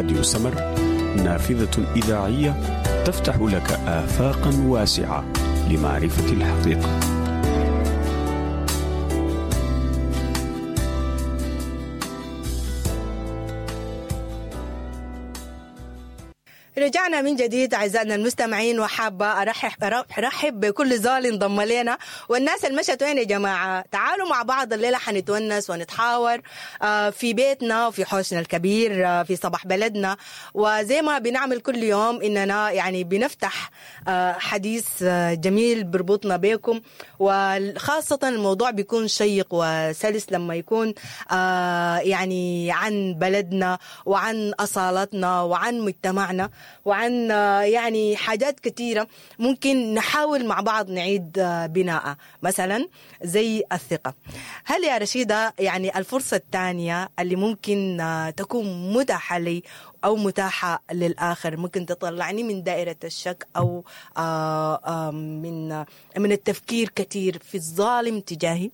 راديو سمر، نافذة إذاعية تفتح لك آفاقا واسعة لمعرفة الحقيقة. رجعنا من جديد اعزائنا المستمعين، وحابة ارحب بكل زول انضم لنا والناس اللي مشت وين يا جماعة. تعالوا مع بعض الليلة حنتونس ونتحاور في بيتنا وفي حوشنا الكبير في صباح بلدنا. وزي ما بنعمل كل يوم اننا يعني بنفتح حديث جميل بربطنا بكم، وخاصة الموضوع بيكون شيق وسلس لما يكون يعني عن بلدنا وعن اصالتنا وعن مجتمعنا وعن يعني حاجات كثيرة ممكن نحاول مع بعض نعيد بناءها، مثلا زي الثقة. هل يا رشيدة يعني الفرصة الثانية اللي ممكن تكون متاحة لي أو متاحة للآخر ممكن تطلعني من دائرة الشك أو من التفكير كثير في الظالم تجاهي؟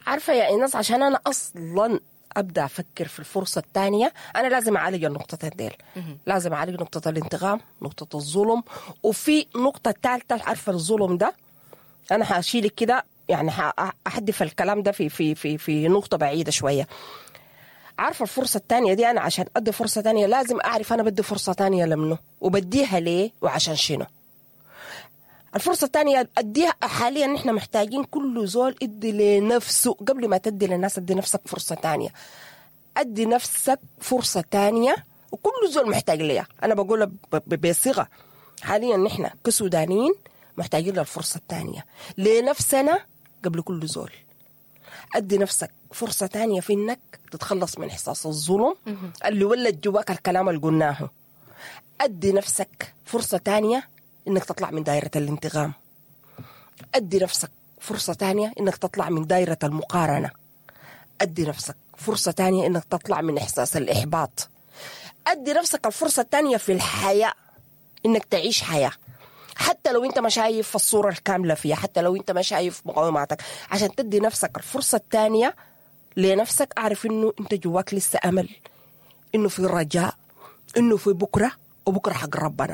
عارفة يا إيناس، عشان أنا أصلاً أبدأ أفكر في الفرصة الثانية أنا لازم أعالج النقطتين ديل. لازم أعالج نقطة الانتقام، نقطة الظلم، وفي نقطة ثالثة. عارفة الظلم ده أنا هشيلك كده، يعني هحدف الكلام ده في في في في نقطة بعيدة شوية. عارفة الفرصة الثانية دي أنا عشان أدي فرصة ثانية لازم أعرف أنا بدي فرصة ثانية لمنه وبديها ليه وعشان شنو. الفرصة الثانية أديها حاليا نحن محتاجين كل زول ادي لنفسه قبل ما تدي للناس. ادي نفسك فرصة ثانية، ادي نفسك فرصة ثانية، وكل زول محتاج ليها. أنا بقولها بصيغة حاليا نحن كسودانيين محتاجين للفرصة الثانية لنفسنا قبل كل زول. أدي نفسك فرصة ثانية في إنك تتخلص من إحساس الظلم اللي ولد جواك الكلام اللي قلناه. أدي نفسك فرصة ثانية إنك تطلع من دائرة الانتقام. أدي نفسك فرصة تانية إنك تطلع من دائرة المقارنة. أدي نفسك فرصة تانية إنك تطلع من إحساس الإحباط. أدي نفسك الفرصة التانية في الحياة، إنك تعيش حياة حتى لو أنت ما شايف الصورة الكاملة فيها، حتى لو أنت ما شايف مقاوماتك. عشان تدي نفسك الفرصة التانية لنفسك، أعرف إنه أنت جواك لسه أمل، إنه في رجاء، إنه في بكرة، وبكرة حق ربنا.